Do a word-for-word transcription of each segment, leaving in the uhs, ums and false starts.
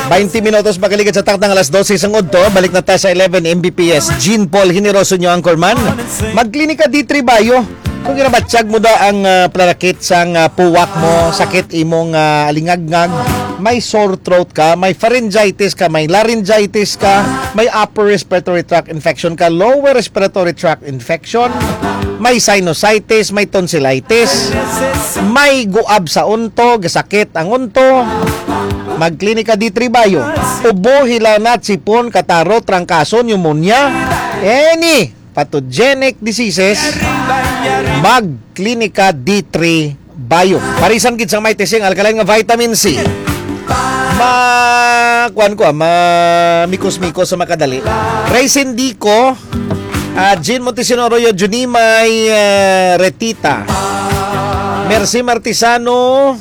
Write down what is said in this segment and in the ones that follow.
Baynte minutos makaligad sa takna nga alas dose sang udto. Balik na ta sa eleven M B P S. Jean Paul Generoso, inyo anchorman. Magklinika D three Bio. Kung ginabatyag mo da ang, ah, panakit sang, ah, puwak mo, sakit imong, ah, alingagngag, may sore throat ka, may pharyngitis ka, may laryngitis ka, may upper respiratory tract infection ka, lower respiratory tract infection, may sinusitis, may tonsillitis, may guab sa unto, gasakit ang unto, magklinika D three Bio. Ubo, hilanat, sipon, kataro, trangkaso, pneumonia, any pathogenic diseases, magklinika D three Bio. Parisan gid sang may tising alkaline nga vitamin C. Ma, kuan ko, ah, ma mikos-mikos sa makadali. Raisin Dico, ah, Jean Montesino Arroyo, Junimay, eh, Retita, Mercy Martisano,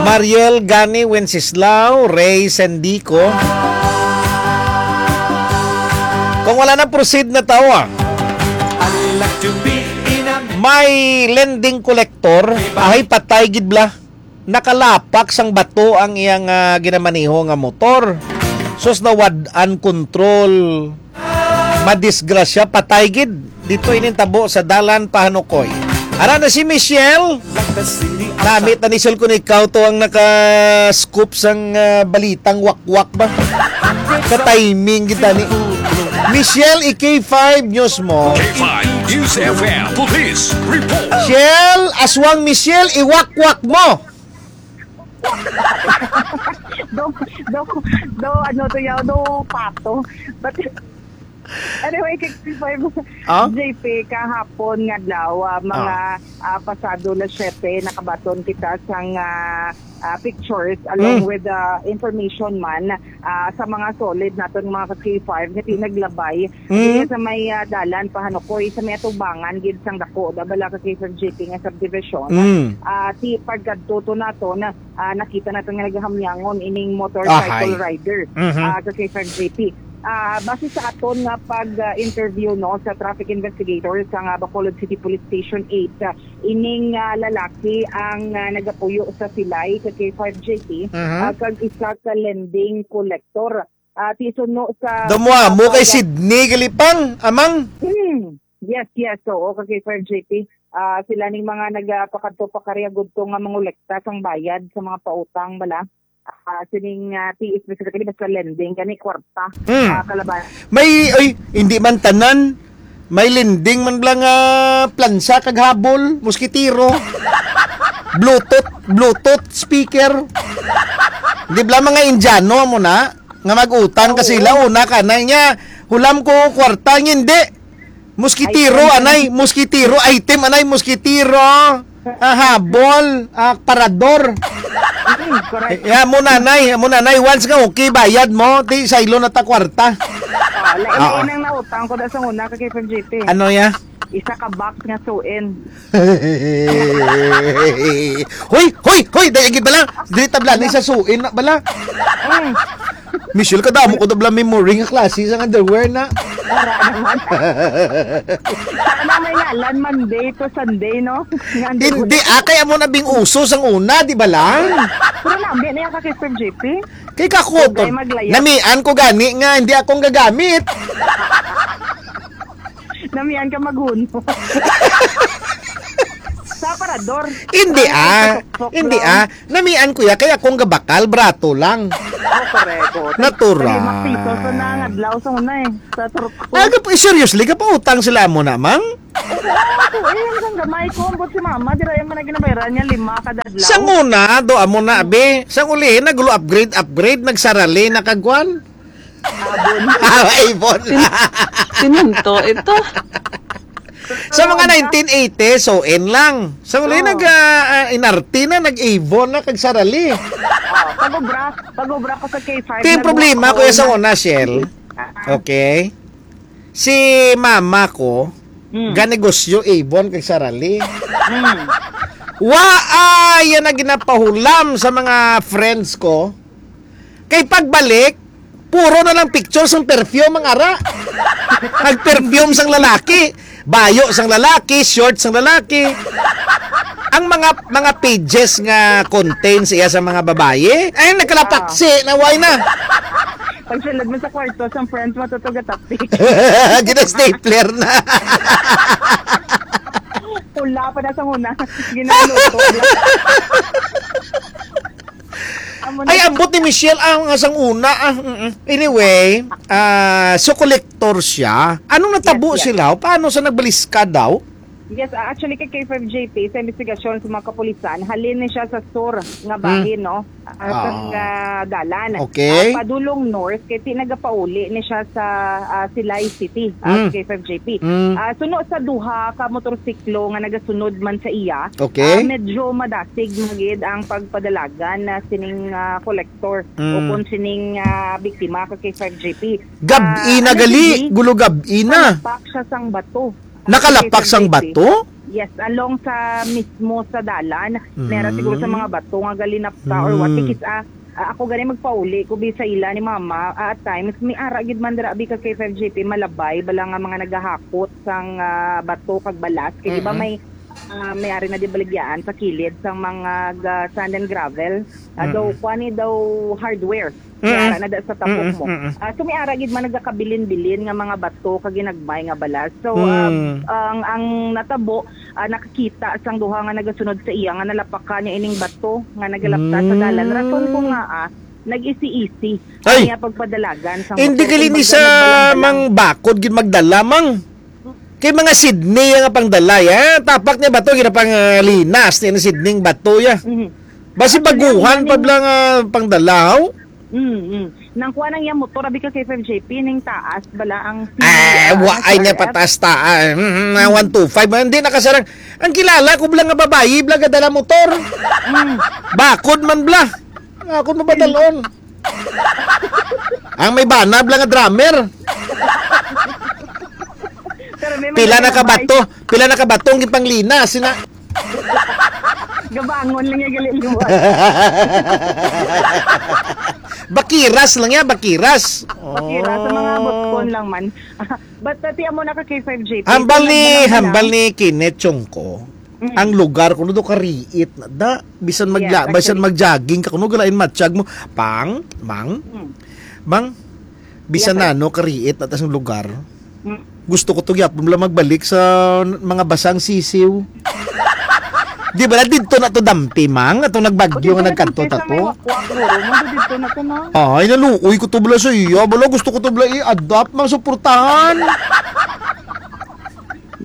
Mariel Gani Wenceslao, Ray Sendico. Kung wala na, proceed na tawo, ah. May lending collector, ay patay gid bala. Nakalapak sang bato ang iyang, ah, ginamaneho nga motor. Sus, nawad-an control. Madisgrasya, patay gid. Dito ining tabo sa Dalan Pahanukoy. Ara na si Michelle. Namit na ni Sol kung ikaw to ang naka-scoop sang, ah, balitang wakwak ba? Ka-timing kita ni Michelle, i-K five News mo. K five News F M Police Report. Michelle, aswang Michelle, iwakwak mo. Do, do, do, ano to yaw, do pato. But anyway, K five, Ah? J P, kahapon nga adlaw, ah, mga, Ah. ah, pasado las siyete, nakabaton kita sang, ah, ah, pictures along Mm. with the information man, ah, sa mga solid naton mga ka-K five nga tinaglabay Mm. diri sa may, ah, Dalan Pahanukoy, sa may atubangan gid sang dako da bala ka-K five J P nga subdivision. Mm. Ah, ti pagkadto to naton, ah, nakita naton nga nagahamyangon ining motorcycle Ahay. rider, Mhm. ah, ka-K five J P. Ah, base sa aton nga pag, ah, interview, no, sa traffic investigator sa nga Bacolod City Police Station eight, ah, ining, ah, lalaki ang, ah, nagapuyo sa silay ka-K five J P, Mhm. ah, kag isa ka lending collector. Ah, ti suno sa Damo amo kay pag- Sydney Galipang, amang. Hmm. Yes, yes. Oo, ka-K five J P. Ah, sila ning mga nagapakadto pa kari agudto nga mangolekta sang bayad sa mga pautang bala. Ah, sining, ah, ti specifically basta lending kani kwarta. Hmm. Ah, kalaban. May, oy, hindi man tanan. May lending man bala nga plansa kag habol, moskitero. Bluetooth, Bluetooth speaker. Di bala mga Indiano mo na nga mag-utang ka Oo. sila una ka na niya. Hulam ko kwarta niya, hindi. Moskitero, Item. anay, moskitero, item, anay, moskitero. Ah, habol, ah, parador. Mm, correct. Ya, mo nanay, mo nanay, once nga okay, bayad mo, ti saylo na ta kwarta. Ah, lain-lain Oo. ang nautang ko da sa una ka-K five J P. Ano ya? Isa ka box nga suin. Hoy, hoy, hoy, dai gid bala. Di tabla ni sa suin na bala. Mm. Michelle, kadamo ko dabla memory nga klase sa underwear na. Wala naman. Sana may ngalan, Monday to Sunday, no? Nga underwear. Hindi, ah, kaya mo na bing uso sang una, di ba lang? Pero nabi na yan ka kay Sir J P. Kay kako, Huwag to, kayo maglayas. namian ko gani nga hindi akong gagamit. Namian ka maghunot. Sa aparador. Hindi, Ay, ah. sa suksok Hindi, lang. ah. Namian ko ya, kaya akong gabakal, brato lang. Oh, correct. Oh. Natural. Sa limang piso, so na, nga adlaw, sa una eh. Sa turko. Ah, gap-, seriously, gapautang sila mo na, mang? Oo, ako eh, hanggang gamay ko, ambot si mama, di ra yung mga ginabayaran niya, lima kada adlaw. Sa una, do amo na, abi. Sa ulihin, naglo-upgrade, upgrade, nagsarali, nakagwan. Abon. Ah, Avon. Sin-, sinunto ito. Sa mga Oo, nineteen eighty, so in lang. Sa uli, Oo. nag, ah, ah, inarte na, nag-Avon na, kag sarali. Oh, pag-obra, pag-obra ko sa K five, Ito yung nag-, problema, kuya, sa una, Shell. Ah. Okay. Si mama ko, Mm. ganegosyo, Avon, kag sarali. Mm. Wa, ah, yan ang ginapahulam sa mga friends ko. Kay pagbalik, puro na lang pictures ng perfume ang ara. Nag-perfume sang lalaki, bayo sang lalaki, short sang lalaki. Ang mga, mga pages nga contains iya sa mga babayi, ay, nagkalapaksi na, why na? Pag sulod mo sa kwarto, sa front, matutugatapik. Gina-stapler na. Pula pa na sa una. Ginaluto. Amo na. Ay, ambot ni Michelle, ah, nga sang una, ah, mm-mm. Anyway, ah, so collector siya. Anong natabo Yes, yes. sila? Paano sa nagbaliskad daw? Yes, ah, actually, kay K five J P, sa investigasyon sa mga kapulisan, halin ni siya sa sur nga Hmm. bahin, no? Ah, sa Oo. nga dalan. Okay. Ah, padulong north, kay ti nagapauli ni siya sa, ah, Silay City, ah, Hmm. K five J P. Hmm. Ah, suno sa duha ka motorsiklo nga nagasunod man sa iya, Okay. ah, medyo madasig man gid ang pagpadalagan na sining, ah, kolektor o Hmm. kung sining, ah, biktima ka K five J P. Gab-i Ah, na ano gali, gid, gulo gab-i na. Kalapak siya sang bato. Nakalapak sang bato? Yes, along sa mismo sa dalan. Mera siguro sa Mm. mga bato nga galinapta or what. Mm. Because, ah, ah, ako gani magpauli ko bi sa ila ni mama. Ah, at times, may ara gid man dira bi ka K five J P, malabay, bala nga mga nagahakot sang, ah, bato kag balas. Kay di ba Mm-mm. may, ah, may ari na di baligyaan sa kilid sang mga ga-, sand and gravel. Ah, daw, Mm-mm. kuan ni daw hardware. Mm-mm. May ara na da sa tapok Mm-mm, mo. mm-mm. Ah, so may ara gid man nagakabilin-bilin nga mga bato kag ginagmay nga balas. So, ah, Mm. ang, ang natabo, ah, nakakita sang duha nga nagasunod sa iya nga nalapakan niya ining bato nga nagalapta sa dalan. Rason ko Mm. nga, ah, nag-isi-isi Ay! ang iya pagpadalagan sa Hindi motor. gali ni Kumbaga, sa nagbalang-balang. Mang bakod gid magdala, mang. Kay mga Sydney nga pangdala, ya. Tapak niya bato, gina pang, ah, linas niya ni Sydney ang bato, ya. Mhm. Basi Actually, ang baguhan pa maning bala nga pangdalaw? Mm, mm. Nang kuha nang iyang motor, abi ka kay five J P, ning taas bala ang Ah, pinaka-, wa, ay, niya R F. Pataas ta, ah, mm, mm, na Mm. one two five, hindi nakasarang. Ang kilala ko bala nga babayi, bala nga dala motor. Mm. Bakod man bala. Ako mabadalon. Ang may bana bala nga drummer. Pero may Pila mga na ka babae. Bato? Pila na ka bato ang gipanglina? Sina- Gabangon lang niya gali liwat. Bakiras lang niya, bakiras. Bakiras, sa mga Oh. butkon lang man. But, uh, ti amo na ka K five J P, Hambal kung ni, nagmahal na hambal lang. Ni Kenneth Chongko, Mm. ang lugar kuno do kariit na da, bisan Yes, magla-, bisan actually. Mag-jogging ka kuno galain matsyag mo, pang, mang, Mm. mang, bisan Yes, sir. Nano kariit na tas ang lugar. Mm. Gusto ko to gyapon lang magbalik sa mga basang sisiw. Di ba na didto na to dampi, mang? Atong nagbagyo O, nga didto na nagkadto to ta sa may to? Wakwak, guro. Mo, didto na to, no? Ay, naluoy ko to bala sa iya. Bala, gusto ko to bala i-adapt, mang suportahan.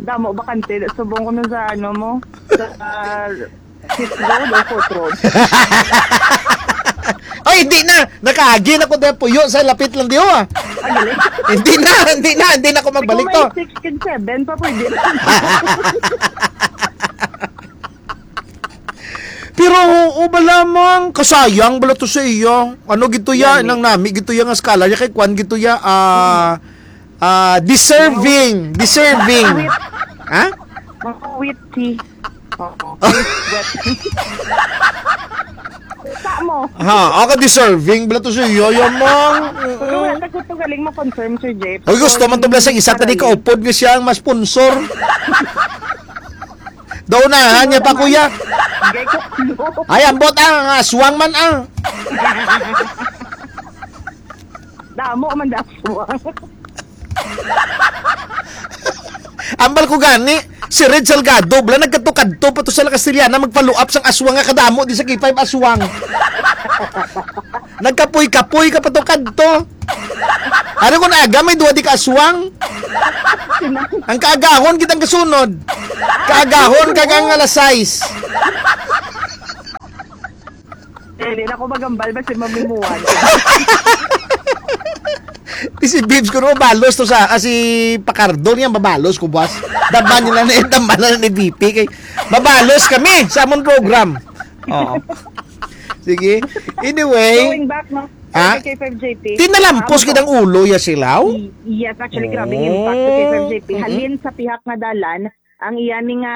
Damo, bakante. Subong ko nun sa ano mo. Sa, ah, fifth road o fourth road? Ay, hindi na. Nakaagi na ko dahil puyo sa lapit lang diyo, ah. Ah, galing. Hindi na, hindi na, hindi na ako magbalik Ikaw to. May six and seven pa pwede na. Pero, oo ba lamang, kasayang bala to sa iya. Ano gito ya, Nami. Nang nami gito ya nga scholar, ya kay kwan gito ya, ah, ah, deserving, deserving. Wit. Ha? Mga witty. Oo. Wet. Sa mo. Ha, ako deserving bala to sa iya, ya, mang. Pero wala ka gusto galing mo-confirm, Sir Jeff. Oy, gusto man to bala sa isa, tadi Para kaupod nga siya ang mas sponsor. Daw na, niya pa, kuya. Gay ko, no. Ay, ambot, ah, nga aswang man, ah. Damo man da aswang. Ambal ko gani, si Red Salgado, bala, nagkatukadto pa to sa La Castellana, magpaluap sang aswang nga kadamo, di sa K five aswang. Nagkapoy-kapoy ka pa to kadto. Ano kung aga may duwa di ka aswang? Ang kaagahon, kitang kasunod. Kaagahon, kagang alas sais. Eh, di na ako magambal, basta mamimuan. Di si Bibs ko, no, balos to sa, ah, si Pacardo niya, mabalos ko, boss. Daman nila na, daman na ni V P, kay mabalos kami sa amon program. Oo. Sige. Anyway. Going back, no? Ha? Kay K five J P. Tinalampos Ah, kitang ulo, ya silaw? Y-, yes, actually, grabe yung impact sa K five J P. Oh. Mm-mm. Halin sa pihak nga dalan, ang iya ni nga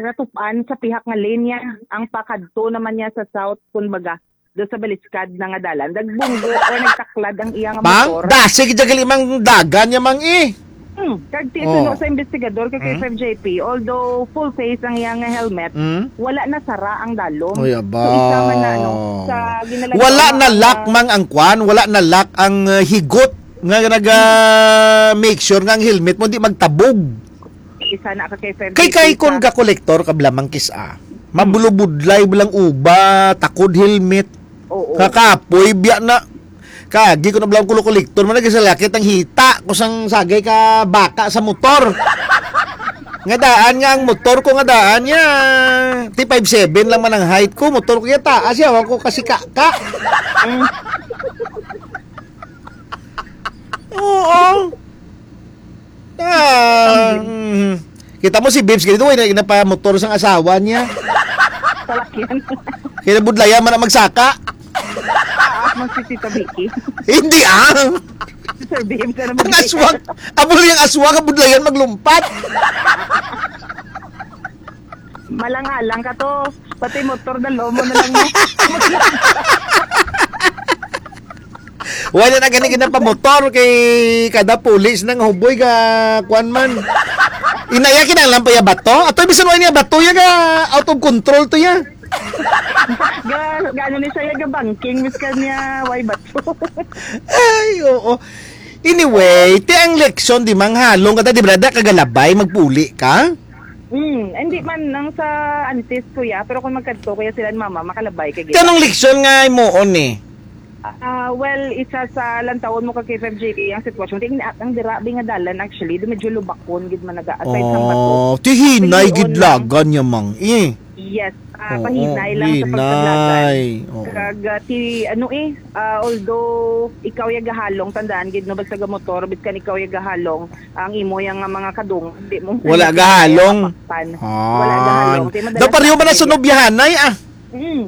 katup-an sa pihak nga lane niya, ang pakadto naman niya sa south, kumbaga, do sa baliskad na nga dalan. Dagbunggo or nagtaklad ang iya nga Mang, motor. Dasig jagal imang dagan niya, mang, eh. Hmm, kag ti Oh. suno sa investigador kag kay Hmm? F F J P, although full face ang iyang helmet, Hmm? wala na sara ang dalom. Oy, aba. So, isa man na, ano, sa ginalagyan Wala na na lock, mang, ang kwan, wala na lock ang, uh, higot nga naga make sure nga ang helmet mo di magtabog. Isa na ka kay F F J P Kay, kay kon sa ka kolektor ka blamang kis-a. Mabulubudlay, bulang uba, takod helmet. Oo. Kakapoy, biya na. Kagi ko na blang kulo kolektor, man nagsalakit ang hita ko sang sagay ka baka sa motor. Nga daan nga ang motor ko nga daan niya. T five seven lang man ang height ko, motor ko ya taas, yawa ko kasi ka, ka. Oo. Ah, mm. Kita mo si Bibs, ganito, eh, na, napamotor sang asawa niya. Salakyan. Kaya budlayan man ang magsaka. Ah, mas si Tita Vicky. Hindi, ah. Sir Bibs, ano Ang mo aswang, abo yung aswang, ang budlayan maglumpat. Malang-alang ka to. Pati motor, dalo mo na lang mo. Wala na gani ginapamotor kay kada pulis nang huboy ga kwan man. Inaya kinahanglan pa ya bato? Ato bisan wala niya bato ya ga out of control to ya. Ga, gano ni siya ga banking, mis ka niya, why bato? Ay, oo. Anyway, ti ang leksyon di manghalong ka ta, di ba, da kagalabay, magpuli ka? Hmm, hindi man nang sa antes, kuya, pero kung magkadto, kuya, sila ni mama, makalabay ka gid. Kanong leksyon nga imuon ni? Ah, well, isa sa lantawon mo kag K five J P ang sitwasyon. Kay ang dira bi nga dalan, actually, di medyo lubakon gid man naga, aside sa bato. Oh, ti hinay Pero gid yun lang. lagan niya, mang. Eh. Yes, ah, Oo, pahinay lang sa hinay. pagpaglagan. Oo. Kag, ah, ti, ano eh, ah, although ikaw ya gahalong, tandaan gid, no, basta ga motor, biskan ikaw ya gahalong, ang imo yang nga mga kadungog, di mo Wala gahalong. mapakpan. Ah. Wala gahalong. Kay madalas Daw pareho ba na sa gid. nobyahanay, ah? Mm.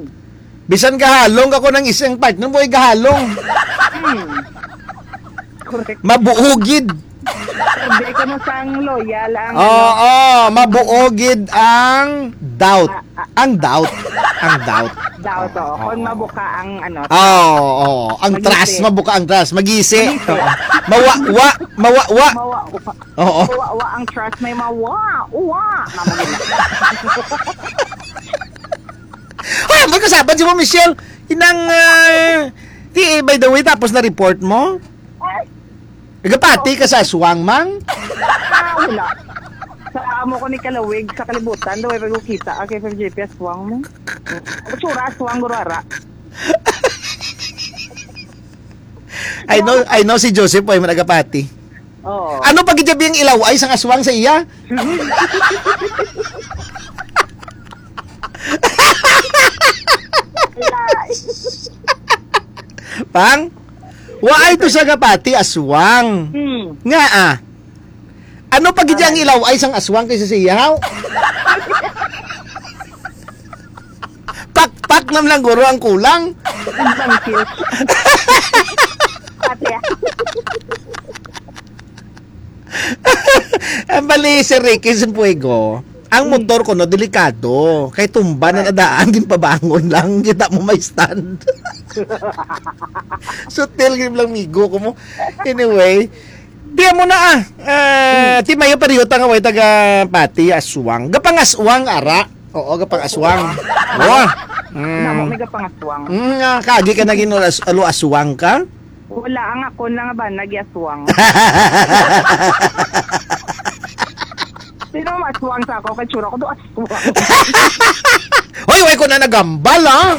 Bisan gahalong ako ng isang partner mo ay gahalong. Hmm. Correct. Mabuugid. Hindi ko na sang loyal ang Oo, ano. mabuugid ang doubt. Ah, ah. Ang doubt. Ang doubt. Doubt, oo. Oo. Kung mabuka ang ano. Oo, oo. Ang Magisi. trust, mabuka ang trust. Magisi. Magisi. Oo. Mawa-wa, mawa-wa. Mawa-wa. Oo. Mawa-wa ang trust, may mawa-wa. Mama nila. Ay, ang pagkasaban si Ma'am Michelle, inang, ah, di, by the way, tapos na report mo? Ay. Nagapati ka sa aswang, mang? Ah, wala. Sa amo ko ni Kalawig, sa kalibutan, daw ay pagkukita, ah, kay F F J P aswang mo. Tsura, aswang, gurara. I know, I know si Joseph ay managapati. Oo. Ano pa gid ang ilaw ay sang aswang sa iya? Pang? Waay to sa gapati aswang. Hmm. Nga ah. Ano pa gid ang ilaw ay sang aswang kaysa sa iya? Pakpak nam lang guro ang kulang. Ang bangkil. Pati ah. Ang bali, Sir Ricky Sanfuego, ang Hmm. motor ko, no, delikado. Kay tumba na Right. nadaan, ginpabangon lang. Kita mo may stand. Sutil, gid lang, migo ko mo. Anyway, di mo na, ah. Ah, Hmm. ti mayo pareho ta nga way taga pati, aswang. Gapangaswang, ara. Oo, gapangaswang. Oo. Mm. Namo, may gapangaswang. Mm, nga, kagi ka naging alas-, alo aswang ka? Wala, ang ako na nga ba, nagyaswang. Sino maswang sa ako? Kay tsura ko do aswang. Hoy, way ko na nagambal, ah.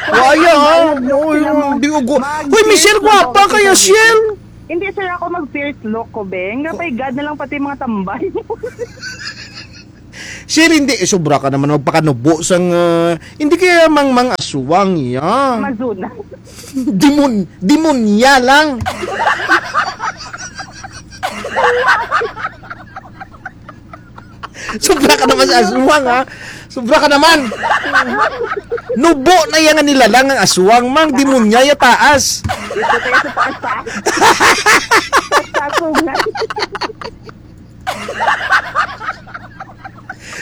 Waya, ah. Ay, Uy, sila mo. Di ugo. Mag-, Hoy, Michelle, first look, gwapa kaya, Michelle. Hindi, sir, ako mag-first look ko, be. Nga, pay God na lang pati mga tambay. Sir, hindi. Eh, sobra ka naman magpakanubo sang, ah, hindi kaya mang, mang aswang iya. Mazuna. Demon-, demonya lang. Sobra ka naman sa aswang, ha? Sobra ka naman. Nubo na iya nga nilalang ang aswang, mang. Demonya ya taas. Dito tayo sa taas, ha? Sa sungan.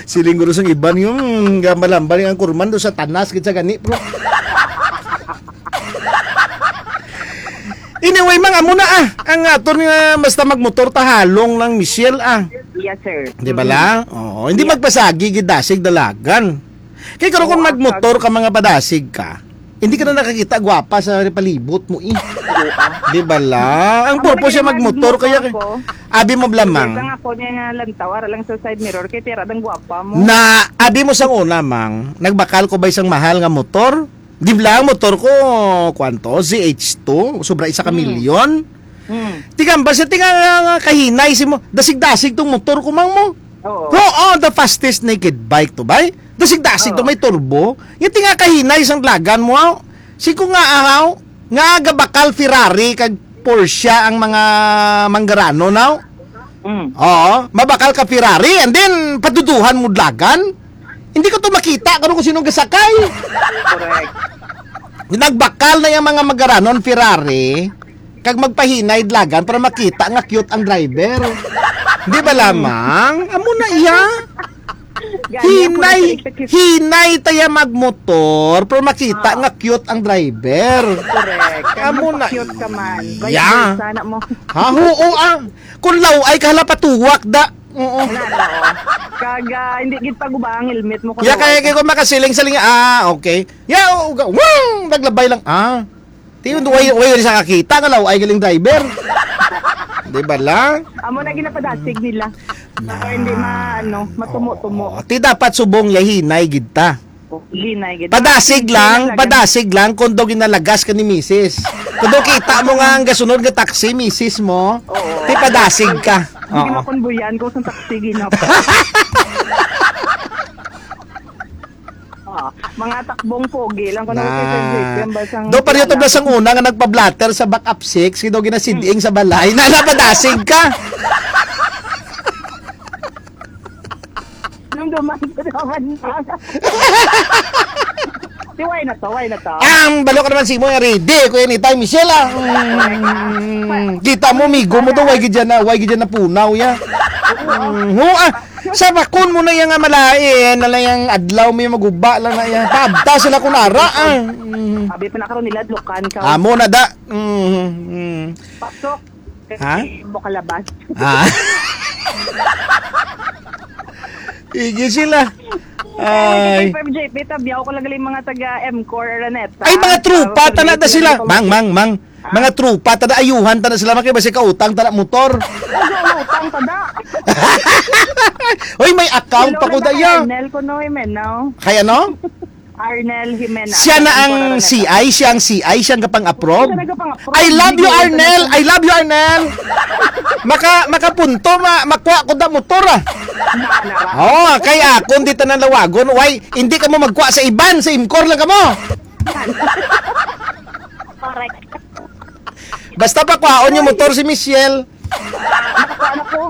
Siling guro sang iban yung gambal-ambal ang kurman do sa tanas, gid sa gani, bro. Anyway, mang, amo na, ah. Ang aton nga basta magmotor ta halong lang, Michelle, ah. Yes, sir. Di ba Mm. lang? Oo, hindi Yes. magpasagi gid dasig dalagan. Kay karon kung Oo, magmotor ka, mga padasig ka, hindi ka na nakakita gwapa sa palibot mo, eh. Oo, ah. Di ba lang? Ang Amo purpose lagi siya ang magmotor, magmotor kaya ko. Abi mo Hindi blamang. lang ako niya nga lantaw, ara lang sa side mirror, kay tira dang gwapa mo. Na, abi mo sang una, mang, nagbakal ko ba isang mahal nga motor? Di ba lang motor ko, kwanto? Z H two, sobra isa ka Mm. milyon. Mm. Tingambal siya, tinga nga kahinay si mo. Dasig-dasig tong motor ko, mang mo. Oo. Oo, the fastest naked bike to buy. Dasig-dasig to, Oo. may turbo. Yung tinga kahinay sang dalagan mo, aw. Si ko nga, ahaw, nga gabakal Ferrari kag Porsche ang mga manggarano, now. Mm. Oo, mabakal ka Ferrari and then paduduhan mo dalagan. Hindi ko to makita kung, kung sino gasakay. Correct. Nagbakal na yung mga magaranon Ferrari kag magpahinay dalagan para makita nga cute ang driver. Di ba lamang? Amo na iya. Gani ako Hinay, nasa executive. hinay taya magmotor, pero makita Ah. nga cute ang driver. Correct. Kag Amo na magpa-cute ka man. Vice iya. versa na mo. Ha, oo, ah. Kung law-ay ka, hala, patuwak, da. Oo. Wala na, oh. Kag, ah, hindi gid pagubang ang helmet mo kung Ya, law-ay kaya ka. kaya ko makasiling-siling, ah, okay. Ya, oo, ga-, wow, naglabay lang, ah. Ti, way, way sa kakita nga law-ay galing driver. Di ba lang? Amo na ginapadasig nila. Na. Para hindi ma-, ano, matumo-tumo. Oo. Ti dapat subong yahinay gid ta. Hinay gid. Padasig Hinay lang, lang. padasig lang kung daw ginalagas ka ni misis. Kung daw kita mo nga ang gasunod nga taxi, misis mo, Oo. ti padasig ka. Hindi Oo. makonbuyan ko sa taxi, ginap. Ah, mga takbong pogi lang ko Na. nakikita sa J P M, basang Do, pareho to, kilala. basang una nga nagpa-blotter sa back up six, kay daw ginasiding sa balay. Na, napadasig ka. Nung duman ko naman. Di, why na to? Why na to? Ang balo ka naman si mo, ready ko anytime, Michelle, ah. Mm, kita mo, migo mo to, why gid yan na, why gid yan na punaw, ya? Mm, ho, ah. Sa bakon mo na yang malain, na lang yang adlaw may maguba lang na yan. Paabta sila kung ara, ah. Mm. Abi pa na karon nila, adlokan ka. Amo na da. Mm, mm. Pasok. Ha? Mo kalabas. Ah. Igi sila. Ay. Ay. Five J P, tabiyaw ko lang galing mga taga M-Core Araneta. Ay, mga trupa, Ah, tana da sila. Mang, mang, mang. Ah. Mga trupa, tada ayuhan, tada sila, makibasi ka utang, tada motor. Ano, utang, tada? Oy, may account Hello, pa ko na daya. Arnel, kuno, eh, men, no? Kaya, no? Arnel Jimena. Siya na ang Arnel C I, siya ang C I, siya ang gapang-approve. Siya nagapang-approve. I love you, Hindi Arnel. ko na I love you, Arnel. Maka, makapunto, ma, makuha ko da motor, ah. Nara. Oh, kay akon di tanan lawagon. Why, hindi ka mo magkuha sa iban, sa Imcor lang ka mo. Correct. Basta pa kuhaon yung motor si Michelle. Nakakuha na ko.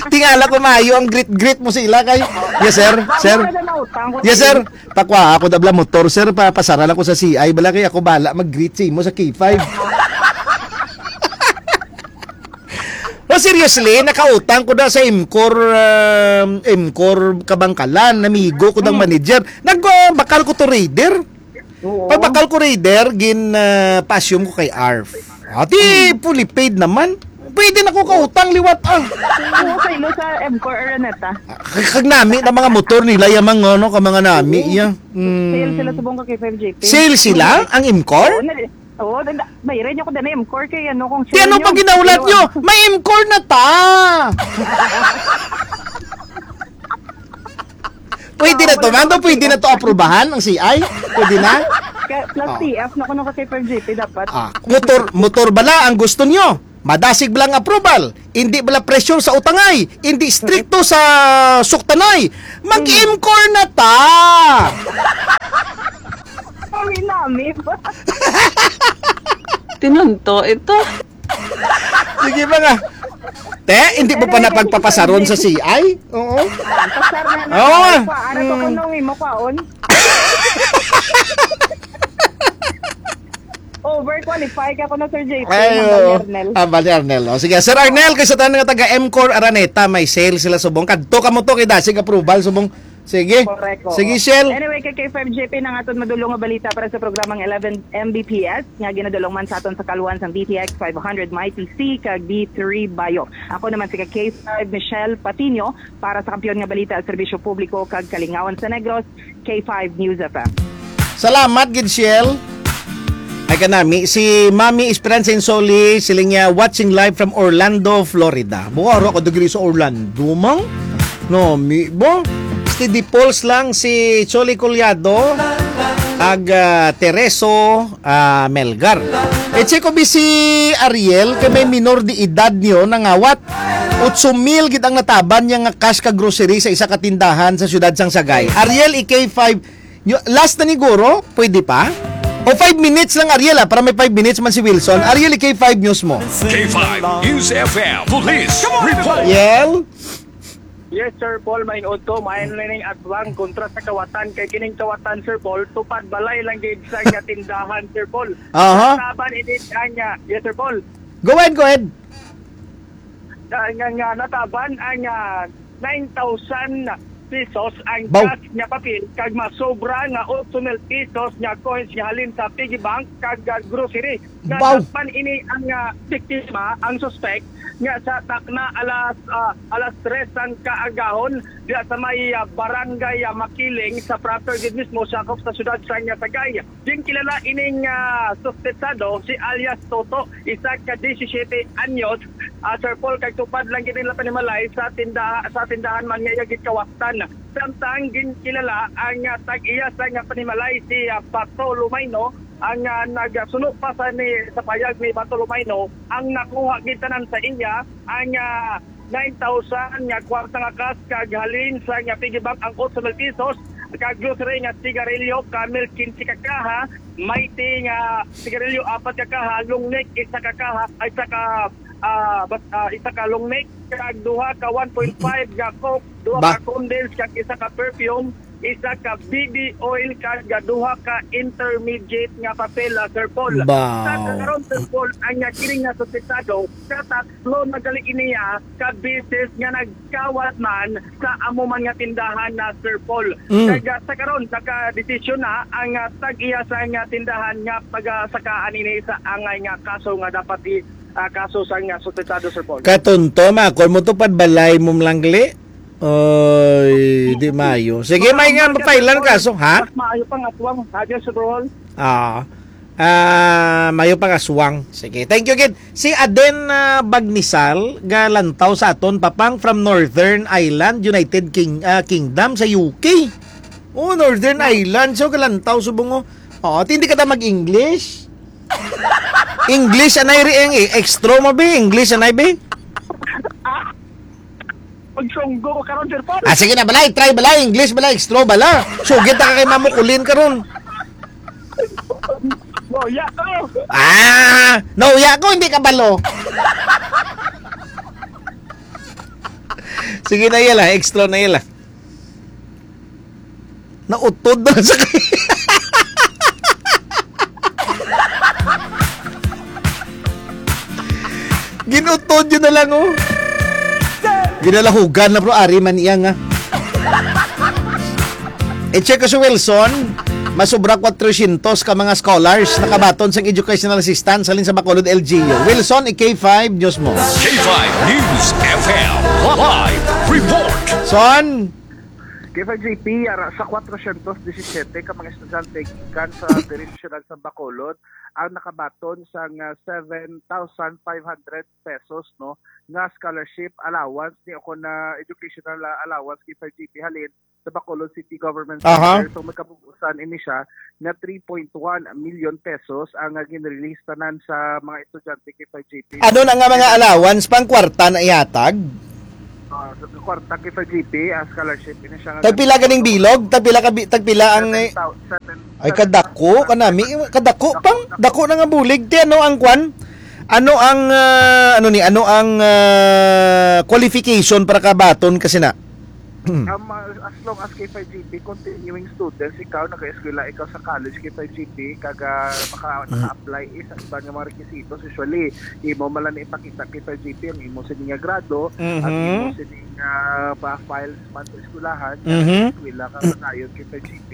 Tingala ko maayo ang greet-greet mo sa ila kay, "Yes, sir. Sir. Wala na utang ko. Yes, sir. Pakuha ako dabla motor, sir. Pa, pasara lang ko sa C I. Bala kay ako bala mag-greet sa imo sa K five." Oh, seriously, nakautang ko na sa Imcor, um, Imcor Kabangkalan, namigo ko ng Hmm. manager. Nag, uh, bakal ko to Raider. Oo. Pag bakal ko Raider, gin, ah, pa-assume ko kay Arf. Ati, Hmm. fully paid naman. Pwede na ko kautang liwat, ah. Oo, sa ilo sa Imcor Araneta. Ah, kag, kag nami na mga motor nila, yung mga, ano, ka mga nami, Oo. iya. Mm. Sale sila subong ka kay five J P. Sale sila, ang Imcor? Oo, na, oo, na, na, bayran niyo ko dana Imcor kay ano, kung Ti, sale ano niyo, pag ginaulat ano, niyo? ano. May Imcor na ta! Pwede na to, ma'am? Pwede na to aprubahan ang C I? Pwede na? Kaya plus Oh. T F na kuno ka kay five G P dapat. Ah, motor, motor bala ang gusto nyo? Madasig bala ang approval? Hindi bala pressure sa utangay? Hindi stricto sa suktanay? Mag-imcore na ta! Sorry, nami. Tinunto ito. Sige ba nga? Te, hindi mo pa Pero napagpapasaron sa C I? Oo. Pasar na na. Oo. Ay, pa, ano to Mm. kung nung imo kwaon? Overqualify ka ko na, Sir J P, Ay, hambal ni oo. Arnel. Hambal ni Arnel. O, sige, Sir Arnel, kay sa tanan nga taga M-Core Araneta, may sale sila subong. Kadto ka mo to, kay dasig approval subong. Sige. Correct, oo. Sige, Shell. Anyway, kay K five J P, ang aton madulong nga balita para sa programang eleven M B P S nga ginadulong man sa aton sa kaluan sang D T X five hundred Mighty C kag D three Bayo. Ako naman si ka K five Michelle Patino para sa Kampiyon nga Balita, Serbisyo Publiko kag Kalingawan sa Negros, K five News F M. Salamat gid, Shell. Ay, kanami, si Mami Esperanza Insoli, siling niya, "Watching live from Orlando, Florida." Buwaro ako diri sa Orlando, mang? No, mi, bo? Steady pulse lang si Choli Collado, ag, ah, Tereso, ah, Melgar. E, check ko bi si Ariel, kay may minor de edad niyo nangawat. Otso mil gid ang nataban niya nga cash ka grocery sa isa ka tindahan sa siyudad sang Sagay. Ariel, i K five, nyo, last na ni guro, pwede pa? O five minutes lang, Ariel, ah, para may five minutes man si Wilson. Ariel, i K five News mo. K five News F M Police Report. Ariel? Yes, Sir Paul, mahinuot ko, maayo na ning aswang kontra sa kawatan. Kay kining kawatan, Sir Paul, tupad balay lang gid sa nga tindahan, Sir Paul. Aha. Taban ini ang, ah, yes, Sir Paul. Go ahead, go ahead. Nga, nga, nga nataban ang, ah, nine thousand pesos ang Baw. Cash nga papel kag masobra nga otso mil pesos nga coins nga halin sa piggy bank kag, ah, grocery. Baw. Natakpan ini ang, ah, biktima, ang suspek, nga sa takna alas, ah, alas tres sang kaagahon diya sa may, ah, barangay, ah, Makiling sa proper gid mismo sakop sa siyudad sa Sagay. Ginkilala ining, ah, suspetsado si alias Toto, isa ka disisiete anyos, ah, Sir Paul, kag tupad lang gid nila panimalay sa tindaha-, sa tindahan man nga iya gikawatan. Samtang ginkilala ang, ah, tag-iya sa nga panimalay si, ah, Bato Lumayno, ang, ah, nagsuno pa sa ni, sa payag ni Bato Lumayno, ang nakuha gid tanan sa iya ang, ah, nine thousand nga kwarta nga cash kag halin sa nga piggy bank ang otso mil pesos, kag grocery nga sigarilyo, Camel, quince ka kaha, Mighty nga sigarilyo, apat ka kaha, long neck, isa ka kaha, ay, isa ka, ah, bas-, ah, isa ka long neck, kag duha ka one point five nga Coke, duha Ba- ka condense, kag isa ka perfume, isa ka B B oil, kag duha ka intermediate nga papel, ah, Sir Paul. Ba- Sa karon, Sir Paul, ang nga kining nga suspetsado, katatlo na gali niya ka beses nga nagkawat man sa amo man nga tindahan na, Sir Paul. Mm. Kag, ah, sa karon, nakadesisyon na ang, ah, tag-iya sa nga tindahan nga pagasakaan ini sa angay nga kaso nga dapat i-, ah, kaso sa nga suspetsado, Sir Paul. Katunto, ma, kon mo tupad balay mo lang gali. Oy, di maayo. Sige, may nga Mas maayo pa nga aswang, kaso, ha? Mas maayo pa nga aswang, ha, Sir Paul? Ah. Ah, mayo pa nga aswang. Sige, thank you gid. Si Aden, ah, Bagnisal, galantaw sa aton, Papang, from Northern Ireland, United King-, ah, Kingdom, sa U K. Oh, Northern Ireland, so galantaw subong, oh. Oh, hindi ka ta mag-English? English anay ri ang, eh, extra mo, be? English anay, be? Magsunggo ko karon, Sir Paul. Ah, sige na, balay, try, balay, English, balay, extra, bala. Sugit na ka kay Mamo Kulin karon. Nauya ko. Ah, nauya ko, hindi ka balo. Sige na, Yel, ah. Extra na, Yel, ah. Nautod na sa kay-, ginutod yun na lang, oh. Ginalahugan na, bro. Ari man iya nga. I-check ko si Wilson. Masubra kwatrocientos ka mga scholars nakabaton sang educational assistance halin sa Bacolod L G U. Wilson, i-K five News mo. K five News F M live report. Son. K five J P, ara sa kwatrocientos disisiete ka mga estudyante gikan sa diri sa siyudad sa Bacolod ang nakabaton sang, ah, seven thousand five hundred pesos, no, nga scholarship allowance ni, o kon, ah, educational, ah, allowance, K five J P, halin sa Bacolod City Government Aha. Center. So, may kabuusan ini siya na three point one million pesos ang, ah, gin-release tanan sa mga estudyante, K five J P. Ano na nga mga allowance, pang kwarta na ihatag? Ah, sa kwarta, K five J P, ah, scholarship, ini siya nga Tagpila ganing bilog? Tagpila ka bi-, tagpila ang, eh, Seven thou-, seven, ay, seven kadako, thousand kanami, kadako, pang, dako na nga bulig. Ti, ano ang kwan? Ano ang, ah, ano ni, ano ang, ah, qualification para kabaton kasi na? Um, uh, as long as K five G P, continuing students ikaw, nag-eskwela ikaw sa college, K five G P, kag, ah, maka-, Mm. naka-apply is ang iban nga mga requisitos. Usually, imo man lang ipakita K five G P ang imo sini nga grado, ang Mhm. imo sini nga pa-files man sa eskwelahan, Mhm. nga eskwela ka sa dayon K five G P,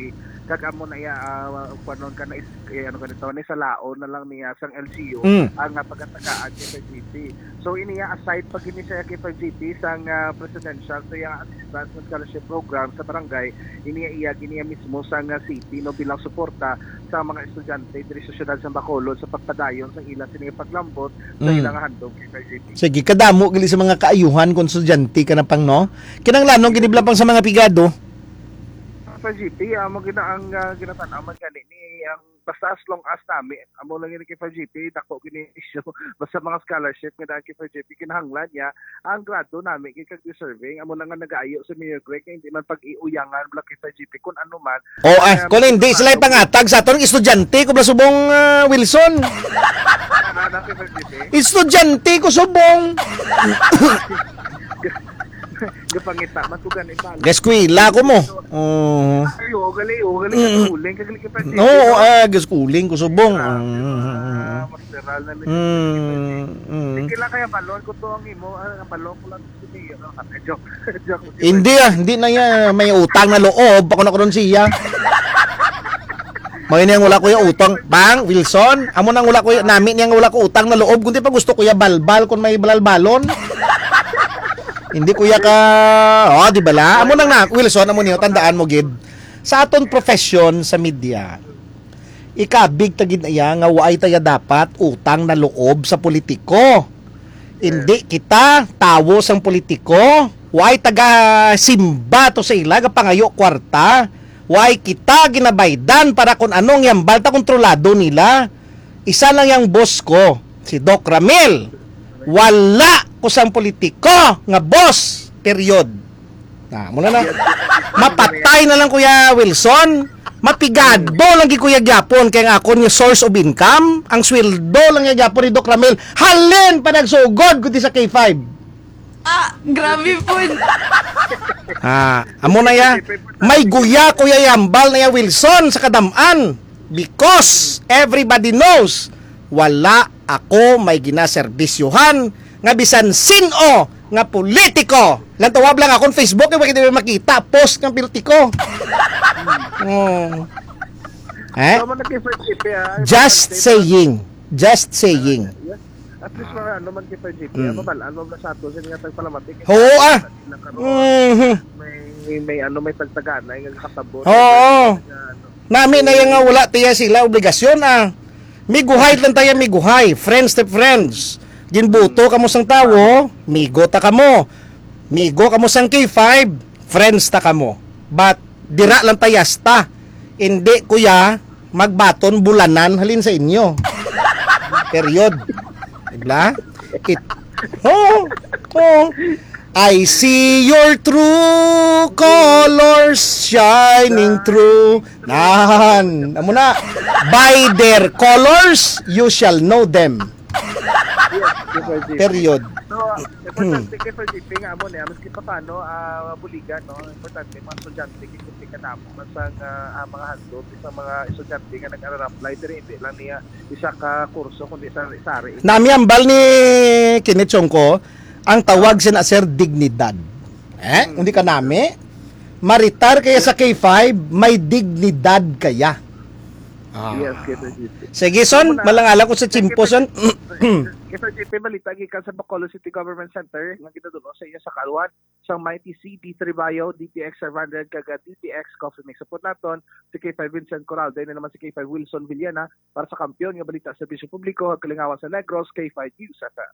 kag amo na iya, ah, kuwanon ka na is-, eh, ano ka nito, ni salaon na lang niya sang L G U, Mm. ang, ah, pagatagaan K five G P. So, ini iya, aside pa gini siya K five G P sang, ah, presidential, sa iya assistance and scholarship program sa barangay, ini iya, iya gini iya mismo sang, ah, city, no, bilang suporta sa mga estudyante diri sa siyudad sa Bacolod sa pagpadayon sa ila sini nga paglambot sa Mm. ilang handom K five G P. Sige, kadamo gali sa mga kaayuhan kung estudyante ka na pang, no? Kinahanglanon gini bala pang sa mga pigado. K five G P, amo gina ang, ah, ginatanaman gani ni ang basta as long as nami, amo lang yun K five G P, dako gini issue. Basta mga scholarship nga daan K five G P, kinahanglan niya ang grado nami kay kag deserving. Amo na nga nagaayo sa Mayor Greg, nga hindi man pag-iuyangan bala K five G P kung ano man. Oh, ah, Kaya kung hindi sila ano, ipangatag sa aton, estudyante ko bala subong, ah, Wilson. Ano, ano, K five G P? Estudyante ko subong. Gapangita, mas ko gani pa. Gaskwela ko mo. Oh. Ay, oo, gali, oo, gali, Mm. Uling, kagali ka pa, No, ah, gaskuling ko subong. Grabe, Mm, mm, mm, ah, mm. Masteral na ni Mm, mm. Sige lang kaya balon ko to ang imo, ah, ang balon ko lang si Mayor. Ah, joke. Joke. Hindi, ah, hindi na niya may utang na loob. Ako na ko ron siya. May niyang wala ko yung utang. Bang, Wilson, amo nang wala ko yung, nami niyang wala ko utang na loob. Kundi pa gusto ko ya balbal kung may balalbalon. Hindi ko ya ka, oh, di bala? Amo nang na, Wilson, amo niyo, tandaan mo, gid. Sa aton profession sa media, ikabig ta gid iya nga waay taya dapat utang na loob sa politiko. Hindi kita tawo sang politiko. Waay taga simba to sa ila, gapangayo kwarta. Waay kita ginabaydan para kung anong yambal ta kontrolado nila. Isa lang yang boss ko, si Doc Ramil. Wala ko sang politiko nga boss. Period. Na, muna na. Mapatay na lang, Kuya Wilson. Mapigado lang gid, Kuya, gyapon kay ang akon nga source of income, ang sweldo lang nga gyapon ni Doc Ramil. Halin pa nagsugod kundi sa K five. Ah, grabe po. Ah, amo na ya. May guya, Kuya, yambal na ya, Wilson, sa kadam-an. Because everybody knows, wala ako may ginaserbisyuhan nga bisan sin-o nga politiko. Lang tawag lang akong Facebook, eh, pwede mo makita, post ng politiko. Oh. Eh? Tama na kay Sir Chipe, ah. Just saying. Just saying. At least mga ano man kay Sir Chipe, Mm. ano ba, ano ba sa ato, sa nga tagpalamatik? Oo, ah. Sila karon, Mhm. may, may ano, may tagtagana, yung kasabot. Oo. May ano. Nami na yung nga wala tiya sila obligasyon, ah. Miguhay lang tayo, miguhay. Friends to friends. Ginbuto kamo sang tawo, migo ta kamo. Migo kamo sang K five, friends ta kamo. But, dira lang tayo hasta. Hindi, kuya, magbaton bulanan halin sa inyo. Period. Diba? It, oh, oh. I see your true colors shining through. Nan, amo na. By their colors, you shall know them. Yes, yes, sir, G P. Period. So, importante kay Sir G P nga amo niya, maski pa paano, ah, buligan, no? Importante, mga estudyante, kay kunti ka damo man sa, ah, ah, mga handog, sa mga estudyante nga nag-apply, pero hindi lang niya isa ka kurso, kundi sa, sa ari. Nami ambal ni Kenneth Chongco, ang tawag sina, sir, dignidad. Eh? Hmm. Hindi ka nami? Maritar kaya sa K five, may dignidad kaya. Ah. Yes, kay Sir G P. Sige, son, Amo na. Malangala ko sa Kay tiyempo, Sir son. Kay Sir G P, balita gikan sa Bacolod City Government Center, nga ginadulo sa iya sa Kalwan, sa Mighty C, D three Bio, D T X five hundred, kag D T X Coffee Mix. Support naton si K five Vincent Coralde, na naman si K five Wilson Villena, para sa Kampiyon nga Balita, Serbisyo Publiko, ug Kalingawan sa Negros, K five News F M.